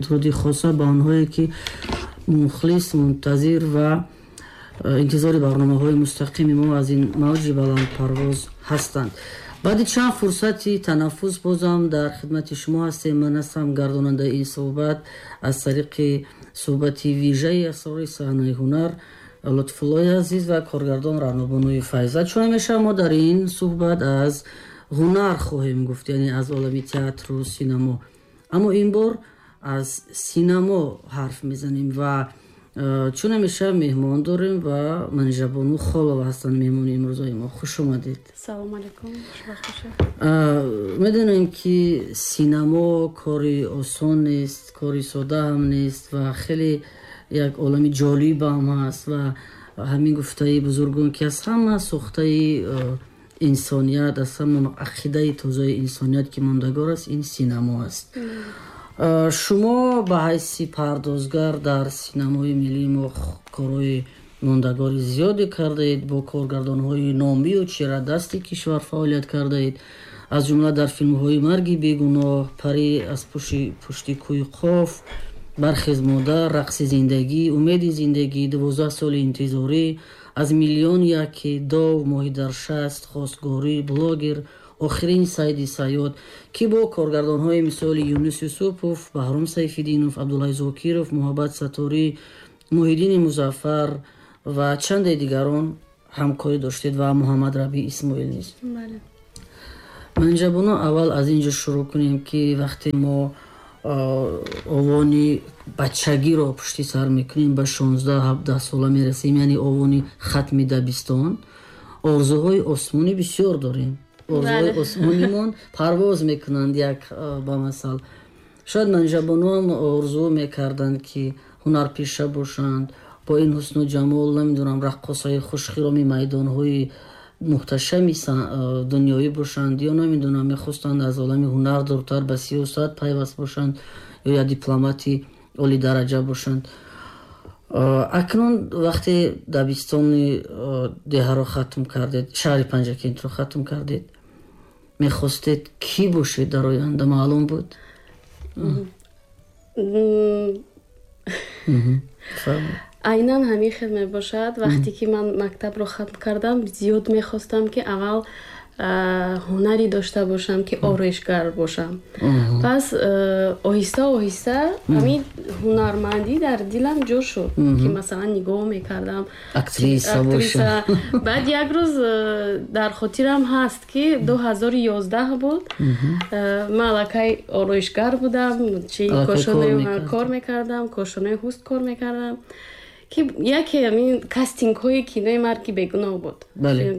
Дуруди хоса ба онҳое, ки мухлис, мунтазир ва интизори барномаҳои мустақими мо аз ин мавҷи баландпарвоз ҳастанд. Баъди чанд фурсати танаффус бозам дар хидмати шумо ҳастем. Ман ҳастам гардонандаи ин суҳбат аз тариқи суҳбати вижаи асрори саҳнаи ҳунар Лутфуллои азиз ва коргардон Раънобонуи Файза. Чун ҳамеша мо дар ин суҳбат аз ҳунар хоҳем гуфт, яъне аз олами театру синамо. Аммо ин бор аз синамо ҳарф мезанем ва чун ҳамеша меҳмон дорем ва Манижабону Холова ҳастанд меҳмони имрӯзаи мо. Хуш омадед. Салом алейкум, хушбахт бошед. Медонем, ки синамо кори осон нест, кори сода ҳам нест ва хеле як олами ҷолиб ҳам ҳаст ва ҳамин гуфтаи бузургон, ки аз ҳама сохтаи инсоният, аз ҳама ақидаи тозаи инсоният, ки мондагор аст, ин синамо аст. Шумо ба ҳайси пардозгар дар синамои миллии мо корҳои мондагори зиёде кардаед, бо коргардонҳои номию чирадасти кишвар фаъолият кардаед, аз ҷумла дар филмҳои «Марги бегуноҳ», «Парӣ аз пушти кӯи Қоф», «Бархез, модар», «Рақси зиндагӣ», «Умеди зиндагӣ», «12 соли интизорӣ», «Аз миллион яке», «Дов», «Моҳӣ дар шаст», «Хостгорӣ», «Блогер», «Охирин сайди сайёд», ки бо коргардонҳои мисоли Юнус Юсупов, Баҳром Сайфиддинов, Абдулҳай Зокиров, Муҳаббат Сатторӣ, Муҳиддини Музаффар ва чанде дигарон ҳамкорӣ доштед ва Муҳаммад Рабӣ Исмоил низ. Манижабону, аввал аз ин ҷо шурӯъ кунем, ки вақте мо овони бачагиро пушти сар мекунем, ба 16-17 сола мерасем, яъне овони хатми дабистон, орзуҳои осмонӣ бисёр дорем. Орзуҳои осмонимон парвоз мекунанд. Як ба масал, шояд Манижабонуам орзу мекарданд, ки ҳунарпеша бошанд, бо ин ҳусну ҷамол, намедонам, раққосаи хушхироми майдонҳои муҳташами дунёӣ бошанд ё, намедонам, мехостанд аз олами ҳунар дуртар ба сиёсат пайваст бошанд ё як дипломати олидараҷа бошанд. Акнун вақте дабистони деҳаро хатм кардед, шаҳри Панҷакентро хатм кардед, мехостед кӣ бошед дар оянда, маълум буд? Айнан ҳамин хел мебошад. Вақте ки ман мактабро хатм кардам, зиёд мехостам, ки аввал ҳунаре дошта бошам, ки ороишгар бошам. Пас оҳиста оҳиста ҳамин ҳунармандӣ дар дилам ҷо шуд, ки масалан нигоҳ мекардам, актриса боша. Баъд як рӯз дар хотирам ҳаст, ки 2011 буд, ман аллакай ороишгар будам, чи кор мекардам, кошонаи ҳуст кор мекардам, ки яке ҳамин кастингҳои кинои «Марги бегуноҳ» буд,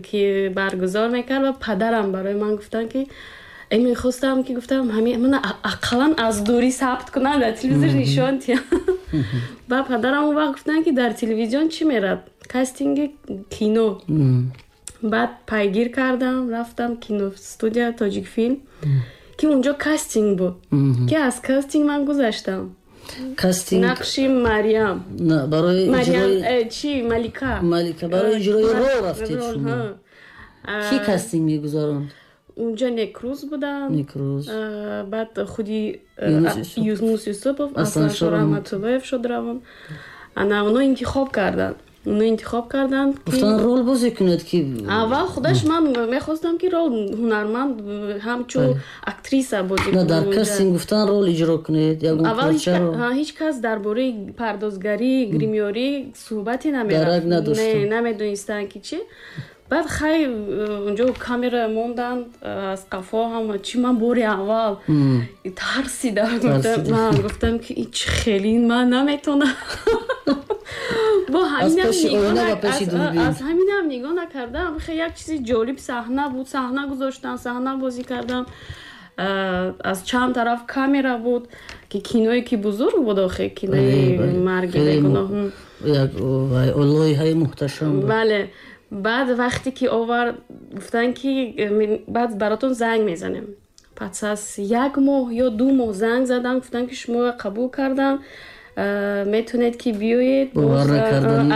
ки баргузор мекард ва падарам барои ман гуфтанд, ки мехостам, ки гуфтам, ҳамин мана ақаллан аз дурӣ сабт кунам, дар телевизор нишон диҳам. Ба падарам он вақт гуфтанд, ки дар телевизион чӣ мерад? Кастинги кино. Баъд пайгир кардам, рафтам киностудия «Тоҷикфилм», ки унҷо кастинг буд, ки аз кастинг ман гузаштам. Кастинг. Нақши Мариям. Барои Мариям чи, Малика. Малика. Барои иҷрои рол рафтед шумо. Кӣ кастинг мегузаронд? Унҷо Некрӯз будам. Некрӯз. Баъд худи Юнус Юсупов, Асланшо Раҳматуллоев шодравон. Ана оно интихоб карданд, оно интихоб карданд. Гуфтанд, рол бозӣ кунед, ки Аввал худаш ман мехостам, ки рол ҳунарманд, ҳамчун актриса бозӣ кунам. Дар кастинг гуфтан, рол иҷро кунед, ягон парчаро. Ҳеҷ кас дар бораи пардозгарӣ, гримёрӣ суҳбате намерафт, намедонистанд, ки чӣ. Баъд хай, унҷо камера монданд аз қафо, ҳама чи. Ман бори аввал тарсидам, гуфтам, ки чӣ хеле, ман наметонам. Бо аз ҳаминам нигоҳ накардам, хе як чизи ҷолиб саҳна буд, саҳна гузоштам, саҳна бозӣ кардам, аз чанд тараф камера буд, ки киное ки бузург буд охе, кинои «Марги бегуноҳ». Лоиҳаи муҳташам. Бале. Баъд вақте ки овард, гуфтанд, ки баъд баротон занг мезанем. Пас аз як моҳ ё 2 моҳ занг задам, гуфтанд, ки шуморо қабул кардам, метавонед, ки биёед,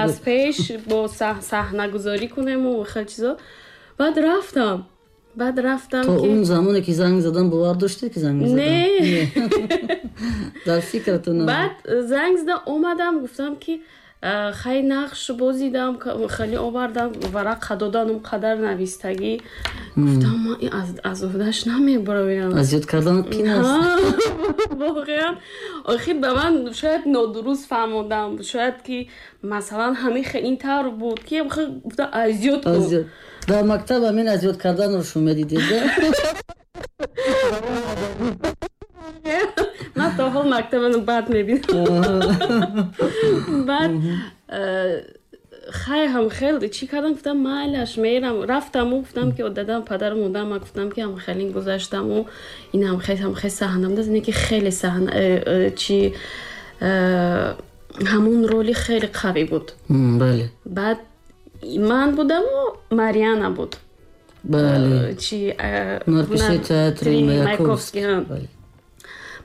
аз пеш бо саҳнагузорӣ кунему хел чизо. Баъд рафтам, баъд рафтам. То он замоне ки занг задан, бовар доштед, ки занг мезадан? Не. Дар фикратон. Баъд занг зада омадам, гуфтам, ки хай, нақш бозидам, хеле овардам, варақа доданум, қадар навистагӣ. Гуфтам, ман аз уҳдаш намебароям. Аз ёд кардан қин аст. Воқеан, охир ба ман шояд нодуруст фаҳмодам, шояд ки масалан ҳамин ин тавр буд, ки гуфтам, аз ёд кун. Дар мактаб ҳамин аз ёд карданро шумо медидед? Ман то ҳол мактабаро бад мебинам. Баъд хай, ҳам хел чӣ кардам, гуфтам, майлаш, мерам. Рафтаму гуфтам, ки дадам, падару модарам, ман гуфтам, ки ҳам хеле гузаштаму ин ҳам хел, ҳам хел саҳна буд, не ки хеле саҳна чи ҳамун роли хеле қавӣ буд. Бале. Баъд ман будаму Марьяна буд. Бале. Чи ҳунарпешаи театри Маяковский.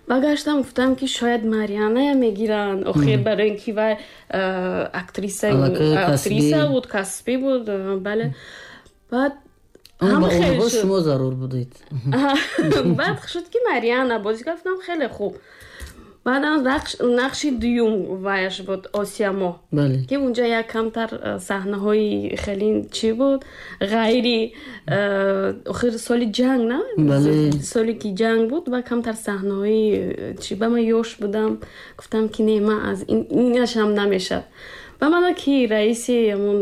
Багаштам, гуфтам, ки шояд Марьяная мегиранд, охир барои ин ки вай актриса буд, касбӣ буд, бале. Баъд ҳама шумо зарур будед. Баъд шуд, ки Марьяна бозӣ кард. Гуфтам, хеле хуб. Баъдам нақши дуюм ваяш буд, Осиямо, ки унҷа як камтар саҳнаҳои хеле чӣ буд, ғайри, охир соли ҷанг, на, соле ки ҷанг буд, ва камтар саҳнаҳои чӣ, ба ман ёш будам. Гуфтам, ки не, ман аз инашам намешад. Ба мана ки раиси ҳамун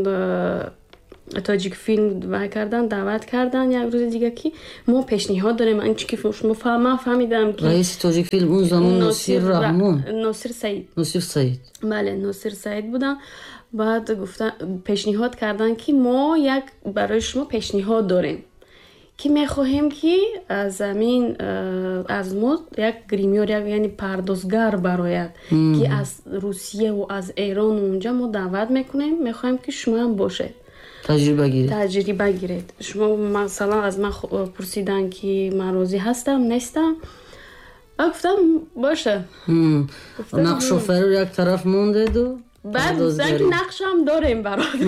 Тоҷикфилм вай кардан, даъват кардан як рӯзи дига, ки мо пешниҳод дорем. Анчи ки шумо, ман фаҳмидам, ки раиси Тоҷикфилм он замон Носир Раҳмон. Носир Саид. Носир Саид. Бале, Носир Саид будам. Баъд гуфта, пешниҳод кардан, ки мо як барои шумо пешниҳод дорем, ки мехоҳем, ки аз амин аз мо як гримёр, як, яъне пардозгар барояд, ки аз Русияву аз Эрону унҷа мо даъват мекунем, мехоҳем, ки шумоам бошед. Таҷриба гиред. Таҷриба гиред. Шумо масалан аз ман пурсиданд, ки ман розӣ ҳастам, нестам. Ба гуфтам, боша. Нақшофариро як тараф мондеду. Баъд гуфтанд, ки нақшам дорем барот.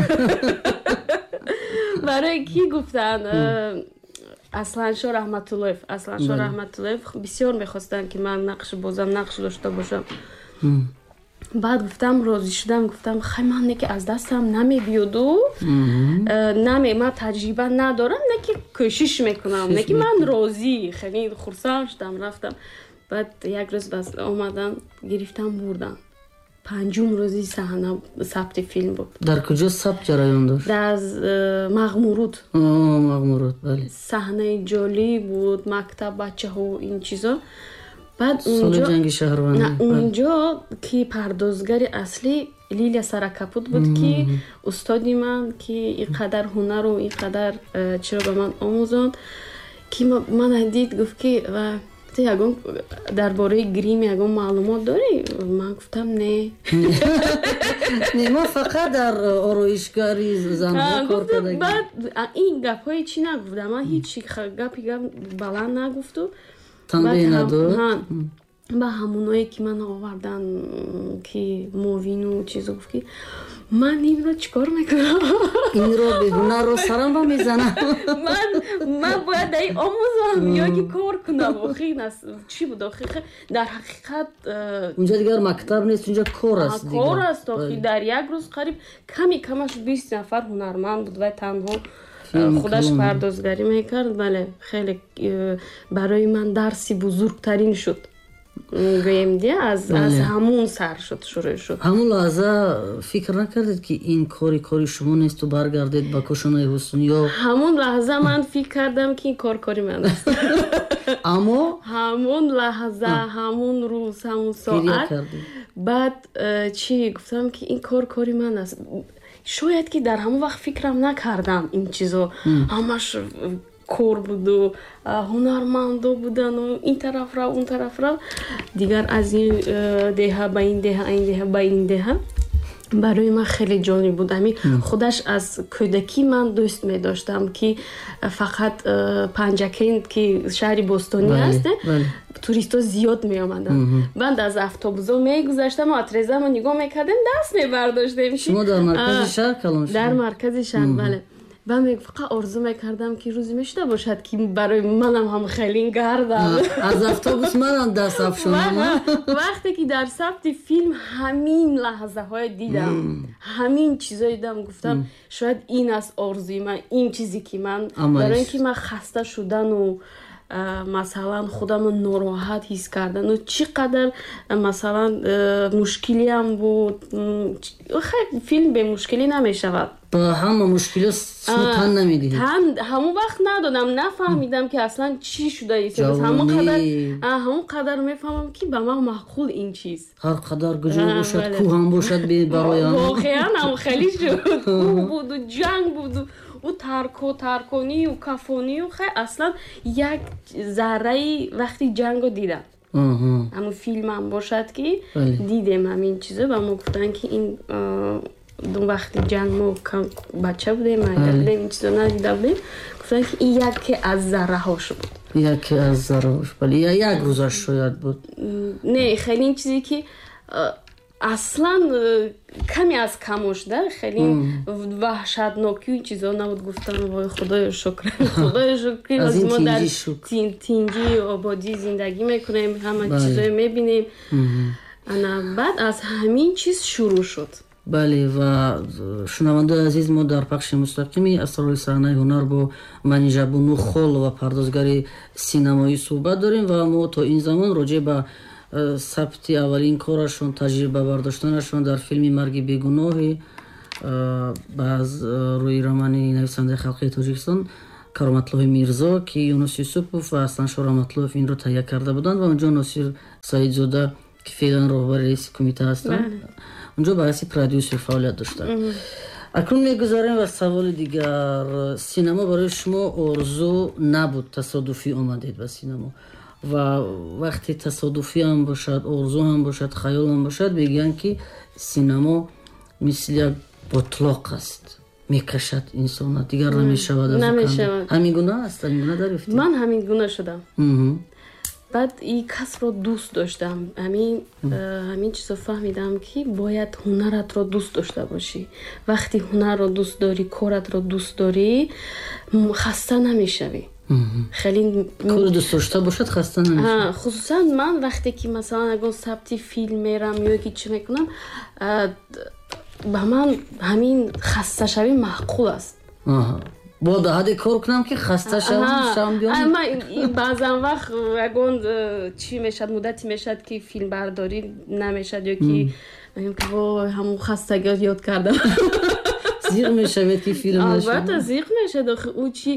Барои кӣ гуфтанд? Асланшо Раҳматуллоев. Асланшо Раҳматуллоев бисёр мехостанд, ки ман нақш бозам, нақш дошта бошам. Баъд гуфтам, розӣ шудам. Гуфтам, хай, ман не ки аз дастам намебиёду наме, ман таҷриба надорам, не ки кӯшиш мекунам, не ки ман розӣ, хеле хурсанд шудам, рафтам. Баъд як рӯз бас омадан, гирифтам, бурдан. Панҷум рӯзи саҳна сабти филм буд. Дар куҷо сабт ҷараён дошт? Дар Мағмуруд. Мағмуруд, бале. Саҳнаи ҷолиб буд, мактаб, бачаҳо, ин чизо. Баъд соли ҷанги шаҳрвандӣ. Унҷо ки пардозгари аслӣ Лилия Саракапут буд, ки устоди ман, ки ин қадар ҳунару ин қадар чиро ба ман омӯзонд, ки мана дид, гуфт, ки ту ягон дар бораи грим ягон маълумот дорӣ? Ман гуфтам, не. Не, ман фақат дар ороишгари занҳо кор кардагӣ. Баъд ин гапҳои чӣ нагуфтам, ман ҳеҷ гапи гап баланд нагуфту. Танбеҳ надод. Ба ҳамоное ки ман овардан, ки мовину чизо, гуфт, ки ман инро чӣ кор мекунам? Инро беҳунарро сарам ба мезанам. Ман бояд дар ин омӯзам ё ки кор кунам? Охи чӣ буд, охи дар ҳақиқат. Унҷа дигар мактаб нест, унҷа кор аст. Кор аст, охи дар як рӯз қариб ками камаш 20 нафар ҳунарманд буд, вай танҳо худаш пардозгарӣ мекард. Бале, хеле барои ман дарси бузургтарин шуд, гӯем, ди аз ҳамун сар шуд, шурӯъ шуд. Ҳамун лаҳза фикр накардед, ки ин кори кори шумо несту баргардед ба кошонаи ҳусн ё? Ҳамун лаҳза ман фикр кардам, ки ин кор кори ман аст. Аммо ҳамун лаҳза, ҳамун рӯз, ҳамун соат. Баъд чӣ гуфтам, ки ин кор кори ман аст. Шояд ки дар ҳамон вақт фикрам накардам ин чизо, ҳамаш кор буду ҳунармандо будану ин тараф рав, он тараф рав, дигар аз ин деҳа ба ин деҳа, ин деҳа ба ин деҳа. Барои ман хеле ҷолиб буд. Ҳамин худаш аз кӯдакӣ ман дӯст медоштам, ки фақат Панҷакент, ки шаҳри бостонӣ аст, туристҳо зиёд меомаданд. Баъд аз автобусо мегузаштам, отрезамо нигоҳ мекардем, даст мебардоштем. Шумо дар маркази шаҳр калон шудед? Дар маркази шаҳр, бале. Ба фақат орзу мекардам, ки рӯзе мешуда бошад, ки барои манам ҳам хеле гардам. Аз автобус манам даст афшонам. Вақте ки дар сабти филм ҳамин лаҳзаҳое дидам, ҳамин чизое дидам, гуфтам, шояд ин аст орзуи ман, ин чизе ки ман, барои ин ки ман хаста шудану, масалан, худамро нороҳат ҳис кардану чӣ қадар, масалан, мушкилиам буд. Филм бемушкилӣ намешавад. Ба ҳама мушкилиҳо шумо тан намедиҳед. Ҳамон вақт надодам, нафаҳмидам, ки аслан чӣ шуда истодааст. Ҳамон қадар мефаҳмам, ки ба ман маъқул ин чиз. Ҳар қадар куҷо бошад, кӯҳ ҳам бошад, бароям. Воқеан ҳам хеле шуд. Кӯҳ буду ҷанг буду ӯ тарконию кафонию. Хай, аслан як зарраи вақти ҷанго дидам. Ҳамун филмам бошад, ки дидем ҳамин чизо, ба мо гуфтанд, ки ин вақти ҷанг мо бача будем, майда будем, ин чизо надида будем. Гуфтанд, ки ин яке аз зарраҳош буд. Яке аз зарраҳош, бале, як рӯзаш шояд буд. Не, хеле ин чизе, ки аслан каме аз камош да, хеле ваҳшатнокию ин чизо набуд. Гуфтам, вой, худоё шукр, худоё шукр, мо дар тинҷӣ ободӣ зиндагӣ мекунем, ҳама чизое мебинем. Ана баъд аз ҳамин чиз шурӯъ шуд. Бале, ва шунавандаои азиз, мо дар пахши мустақими асрори саҳнаи ҳунар бо Манижабону Холова, пардозгари синамоӣ, суҳбат дорем ва мо то ин замон роҷеъ ба сабти аввалин корашон, таҷриба бардоштанашон дар филми «Марги бегуноҳӣ» аз рӯи романи нависандаи халқии Тоҷикистон Кароматллоҳи Мирзо, ки Юнус Юсупов ва Асланшо Раҳматуллоев инро таҳия карда буданд ва онҷо Носир Саидзода, ки феълан роҳбари раиси кумита ҳастанд, онҷо ба ҳайси продюсер фаъолият доштанд. Акнун мегузарем ба саволи дигар. Синамо барои шумо орзу набуд, тасодуфӣ омадед ба синамо ва вақте тасодуфӣ ҳам бошад, орзу ҳам бошад, хаёл ҳам бошад, мегӯянд, ки синамо мисли як ботлоқ аст, мекашад инсона, дигар намешавад. Ҳамин гуна аст? Ҳамин гуна дарёфтед? Ман ҳамин гуна шудам. Баъд ин касбро дӯст доштам. Ҳамин чизо фаҳмидам, ки бояд ҳунаратро дӯст дошта бошӣ. Вақте ҳунарро дӯст дорӣ, коратро дӯст дорӣ, хаста намешавӣ хеле. Кори дӯст дошта бошад, хаста намешавӣ. Хусусан ман вақте ки, масалан, ягон сабти филм мерам ё ки чӣ мекунам, ба ман ҳамин хасташавӣ маъқул аст. Бо дар ҳадде кор кунам, ки хаста шавам, биём. Баъзан вақт ягон чӣ мешавад, муддате мешавад, ки филмбардорӣ намешавад ё ки мегӯям, ки вой, ҳамон хастагиро ёд кардам. Зиқ мешавед, ки филм Албатта, зиқ мешавад. Охи, ӯ чи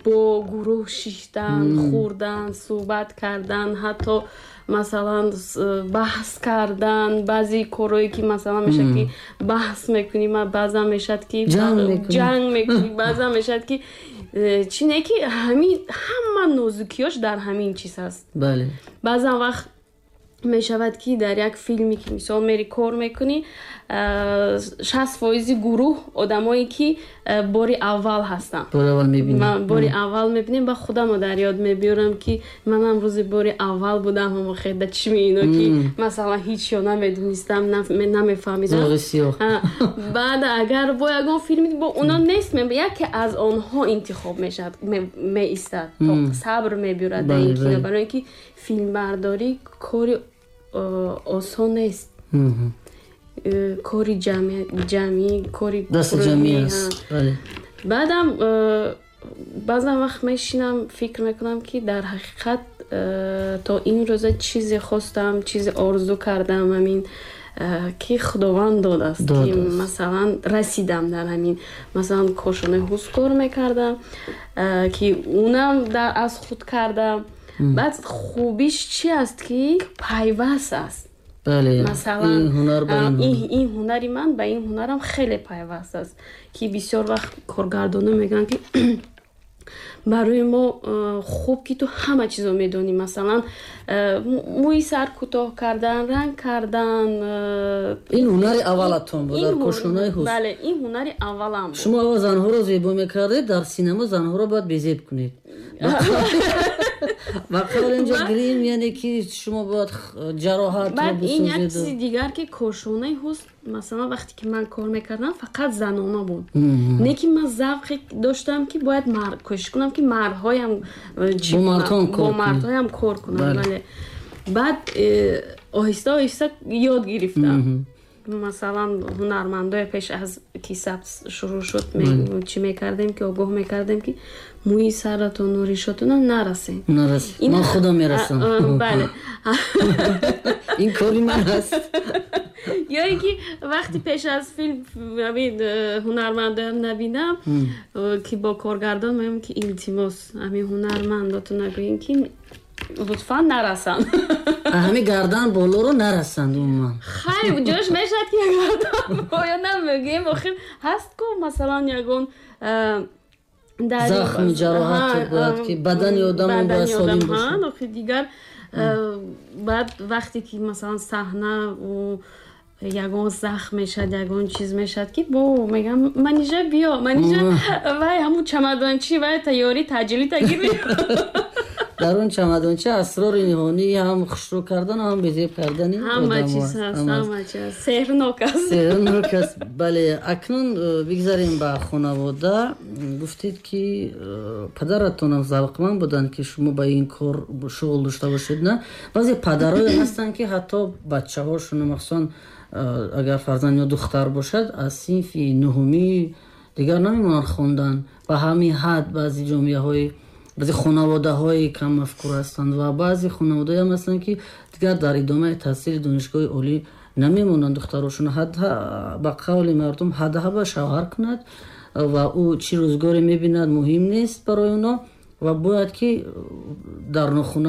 бо гурӯҳ шиштан, хӯрдан, суҳбат кардан, ҳатто, масалан, баҳс кардан, баъзе корҳое, ки, масалан, мешавад, ки баҳс мекунӣ, баъзан мешавад, ки ҷанг мекунӣ, баъзан мешавад, ки чӣ не, ки ҳамин ҳама нозукиёш дар ҳамин чиз ҳаст. Баъзан вақт мешавад, ки дар як филме, ки мисол мери кор мекунӣ, 60% гурӯҳ одамое, ки бори аввал ҳастанд. Бори аввал мебинем. Ба худамо дар ёд мебиёрам, ки манам рӯзи бори аввал будам, ҳамо хеда чишми ино, ки масалан ҳичё намедонистам, намефаҳмидам. Баъд агар бо ягон филми бо оно нест, яке аз онҳо интихоб мешавад, меистад, сабр мебиёрад дар ин кино, барои ин ки филмбардорӣ кори осон нест, кори ҷамъӣ, кори баъдам баъзан вақт мешинам, фикр мекунам, ки дар ҳақиқат то ин рӯза чизе хостам, чизе орзу кардам, ҳамин ки Худованд додааст, ки, масалан, расидам дар ҳамин, масалан, кошонаи ҳусн кор мекардам, ки унам аз худ кардам. Баъд хубиш чи аст, ки пайваст аст. Масалан, ин ҳунари ман ба ин ҳунарам хеле пайваст аст, ки бисёр вақт коргардонҳо мегӯянд, ки барои мо хуб, ки ту ҳама чизо медонӣ, масалан, мӯи сар кӯтоҳ кардан, ранг кардан. Ин ҳунари аввалатон буд дар кошонаи ҳусн? Бале, ин ҳунари аввалам буд. Шумо аввал занҳоро зебо мекардед, дар синамо занҳоро бояд безеб кунед. Ва қавл инҷо грим, яъне ки шумо бояд ҷароҳатро Баъд ин як бисозеду. чизи дигар, ки кошонаи ҳусн, масалан, вақте ки ман кор мекардам, фақат занона буд. Не ки ман завқе доштам, ки бояд кӯшиш кунам, ки мардҳоям чӣ Бо кунам, мардҳоам бо кор кунед. мардҳоям кор кунам. Бале, баъд оҳиста оҳиста ёд гирифтам. Масалан, ҳунармандоя пеш аз ки сабт шурӯъ шуд, чӣ мекардем, ки огоҳ мекардем, ки мӯи саратону ришотона нарасед. Нарасед. Ман худам мерасам. Бале. Ин кори ман аст. Ё ин ки вақти пеш аз филм ҳамин ҳунармандоям набинам, ки бо коргардон мегӯям, ки илтимос, ҳамин ҳунармандоту нагӯем, ки лутфан нарасанд. Ҳамин гардан болоро нарасанд умуман. Хай, ҷош мешавад, ки гардан боё намегӯем, охир ҳаст ку, масалан, ягон захми ҷароҳате бояд, ки бадани одам бояд бадани солим одам, бошад. Охир дигар баъд вақте ки, масалан, саҳна ягон захм мешавад, ягон чиз мешавад, ки бо мегам: «Манижа, биё, Манижа, вай ҳамун чамадончи, вай тайёри таъҷилӣ тагир». Дар он чамадонча асрори ниҳонӣ ҳам хушрӯ кардан, ҳам безеб кардани ҳама одамҳо чиз аст. ҳаст. Ҳама аст. Ҳама чиз ҳаст, сеҳрнок аст. Сеҳрнок аст, бале. Акнун бигзарем ба хонавода. Гуфтед, ки падаратонам завқманд буданд, ки шумо ба ин кор шуғл дошта бошед, на? Баъзе падарое ҳастанд, ки ҳатто бачаҳошон, махсусан агар фарзанд ё духтар бошад, аз синфи нуҳумӣ дигар намемонанд хондан. Ба ҳамин ҳад баъзе ҷомеаҳои, баъзе хонаводаҳои каммафкур ҳастанд ва баъзе хонаводаҳоям ҳастанд, ки дигар дар идомаи таҳсили донишгоҳи олӣ намемонанд духтарошон, ба қавли мардум, ҳадҳаба шавҳар кунад ва ӯ чӣ рӯзгоре мебинад, муҳим нест барои оно ва бояд ки дар нохуна.